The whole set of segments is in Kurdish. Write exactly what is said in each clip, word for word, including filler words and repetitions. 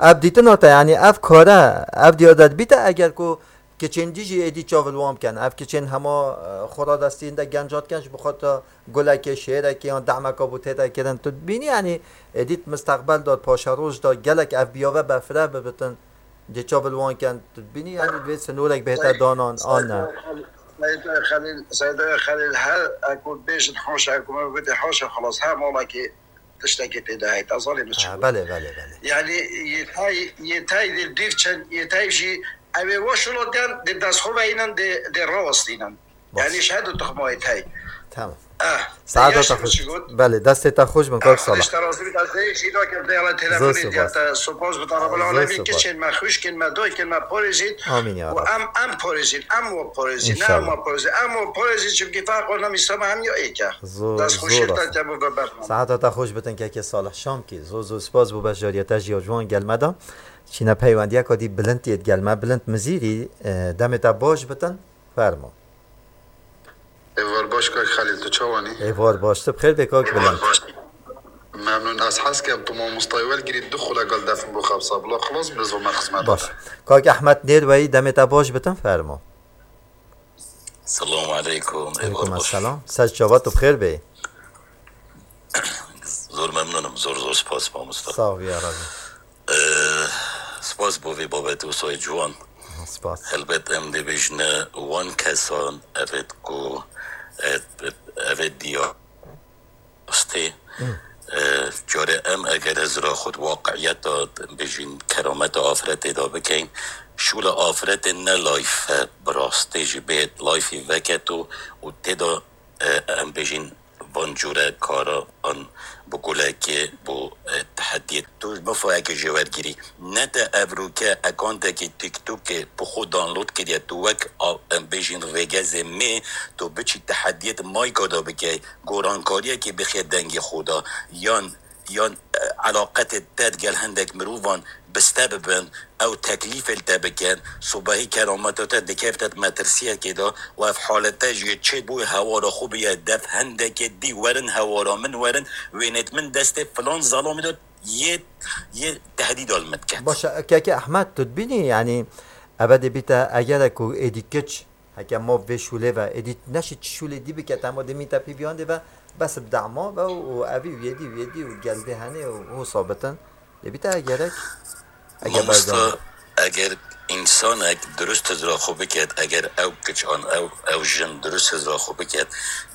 Ev dîtina te, yanî ev kare, ev diyar de dibîte, eger ku kiçên dî jî êdî çav li wan bikin. Ev kiçên hema, e, xwe radestîn de genca dikin, ji bo xwe te gulekê, şêrekê yan dehmeka bo tête kirin. Tu dibînî, yanî êdî di misteqbel de, di paşeroj de gelek ev biyave befre bibitin, dê çav li wan kin. Tu dibînî, yanî vê sinorek bihête danan an ne? Seyda Xelîl, Seyda Xelîl, her eku bêjin haşa, eku me bidî haşa, xelas, her malekî tiştekî tê de heye, te zanî min çi Ha, got. Belê, belê, belê. Yanî yê tay, yê tay dê dîv çend, yê tay jî ew ê weş wilo diyan, dê dest xwe veynin, dê, dê rawestînin. Baş. Yanî ji her du tuxma yê tay. Tamam. Eh, Saeta te xweş. Belê, destê te xweş bin, kak Salah. Xwedê ji te razî bî, ez dê jî nakim, dê Allah Zor telefonê diya spas. Te spas bi te Rabbil Zor Alemin, spas. Kiçên me, xwişkên me, dayikên me parêzît. Amin ya Rab. Em, em parêzîn, em we parêzîn, ne em İnşallah. we parêzîn, em we parêzîn, çimkî ferq wana mîsama em ya êk e. Zor, Dest xweşî zor te rast. Te bo ve bername. Saeta te xweş bitin kekê Salih Şamkî. Zor, zor spas bo beşdariyeta jî ya ciwan gelme da. Çîne peywendiyeka dî Bilind yê gelme. Bilind Mizîrî, e, demê te baş bitin. Fermo. Êvar baş kak Xelîl, tu çawanî? Êvar baş, tu bi xêr bê kak Bilind. Memnûn, ez hez kem tu mamostayê welgirî du xuleka li defin bo xebsa. Bila xilas bi zilma xizmeta Baş. te. Kak Ehmed Nêrweyî, demê te baş bitin, fermo. Selamu aleykum, êvar Aleykum baş. Esselam. Ser çava tu bi xêr bê. Zor memnûnim, zor zor spas mamosta. Sağ ol ya Rabbi. Ee, spas bo vê babetê wisa ciwan. Spas. Helbet em dê bêjine wan kesan, evet ku, evet, evet diya rastê. Hı. Ee, care em eger ez ra xud waqiiyeta bêjin kerameta afiretê da bikeyn, şûla afiretê ne layf e, bi rastê jî bê layfî veketo û tê da, e, em bêjin van cûre karan bi gulekê, bo, e, tehediyê. Tu mifayeke jê wergirî. Ne te evroke ekantekî TikTokê bi xwe download kiriye. Tu wek a-, em bêjin rêgezê mê, tu biçî tehediyê di mayka de bike, gorankariyekê bixe dengê xwe de, yan, yan, e, elaqetê te digel hindek mirovan biste bibin, ew teklîfê li te bikin, sobahî kerameta te dikevite di metirsiyekê de û ev halete jî yê çêt bû, hewara xwe biye dev hindekê dî, werin hewara min werin, wênêt min destê filan zelamî de yê, yê tehdîda li min diket. Baş e, keke Ehmed, tu dibînî, yanî, eve dê bîte, eger ku êdî kiç, heke ma vê şûlê ve, êdî neşî çi şûlê dî bike, tema dê mîte pî biyandê ve, bes bi dema ve û evî û yêdî û yêdî û geldê henê û wisa bitin. Dê bîte gerek, eger Mamosta, berdewam. Eger însanek dirust hizra xwe biket, eger ew kiç an ew, ew jin dirust hizra xwe biket,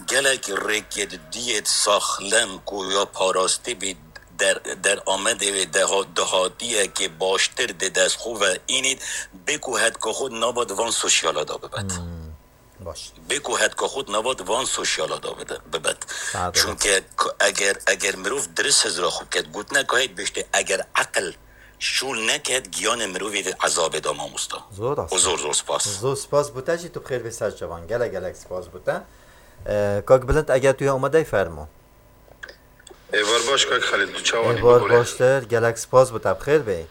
gelek rêkê di diyê saxlem ku ya parastî bî, der, deramedê wê deha-, dahatiyekê baştir di dest xwe ve înît, bê ku hetka xwe nava di van sosyala da bibet. Hmm, baş. Bê ku hetka xwe nava di van sosyala da bide-, bibet. Saet Çunke ku eger, eger mirov dirist hizra xwe biket, gotineka heyt bêjtê, eger eqil şûl neket, giyanê mirovî di ezabê da mamosta. Zor rast. Û zor zor spas. Zor spas bo te jî, tu bi xêr bê ser çavan. Gelek gelek spas bo te. Ee, Kak Bilind, eger tu ya amadey fermo. Êvar baş kak Xelîl, tu çawanî? Êvar baştir, gelek spas bo te, bi xêr bê.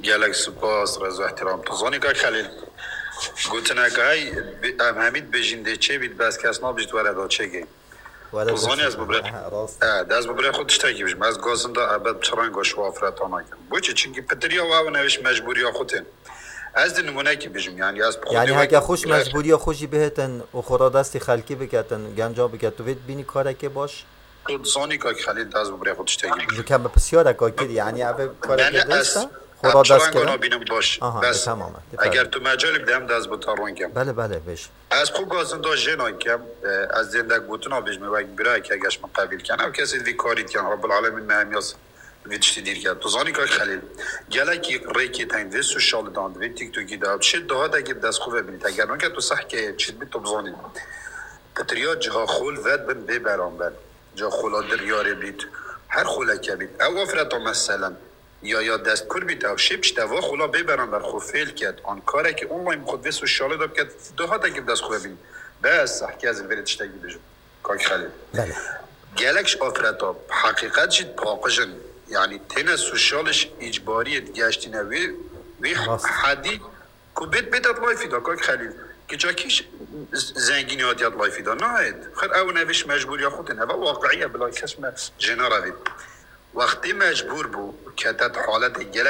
Gelek spas, rêz û ihtiram. Tu zanî kak Xelîl, gotineke hey, bi-, em hemî dibêjin dê çê bît, bes kes nabêjit were da çêkê. Were Tu da zanî çêkê. ez bi birê-, Ha, rast. e, de ez bi birê xwe tiştekî bijim. Ez gazin da ebed çi renga şiwa afireta nakim. Boçi? Çimkî pitiriya we ew newêş mecbûriya xwe tên. Ez di nimûnekî bijim, yanî ez bi xwe Yanî dê heke wek xweş birek mecbûriya xwe jî bihêtin û xwe radestî xelkî biketin, genca biket, tu vê dibînî karekê baş? Tu dizanî kak Xelîl, ez bi birê xwe tiştekî bijim. Ji ke min pisyareka kir, yanî ev Ne, karekê ne, ez, dirist e? Xwe ez radest çi renga kirin? nabînim baş. Aha, Bes, e, tamam e, eger tu mecalî bide em de ez bi te ron kem. Belê, belê, bêj. Ez xwe gazinda jê nakem, e, ez zêndek gotina bêjim, wek birayekî eger ji min qebîl ken. Ew kesê vî karî diken, Rabbil Alemîn me hemiya vî tiştî dîr ket. Tu zanî kak Xelîl, gelekî rêkê teng vê sosyalî dan, vê TikTokî de, şê dahatekê bi dest xwe ve bînît. Eger nake tu sehkeye çi dibî tu bizanî. Pitiriya ciha xol vet bin bê beramber. Ca xola diryarê bît, her xoleke bît. Ew afireta meselen, ya, ya dest kur bît, ew şê pişt eva xola bê beramber xwe fêl ket. An karekî online xwe vê sosyalê de biket, dahatekî bi dest xwe bîn. Bes, heke ez li vêrê tiştekî bijim. Kak Xelîl. Belê. Gelek ji afireta, heqîqet jî paqij in. Yanî têne sosyalê ji îcbariyê digeştîne wê, wê Rast. hedî Ku bêt, bêt et layfî da, kak Xelîl. Kiçakî ş-, z-, zengînî hatiye et layfî da. Nayêt. Xir ew nevêş mecbûriya xwe tên. Eva waqiî ye, bila kes me jê nerevît. Wextê mecbûr bû, kete di haletê gelek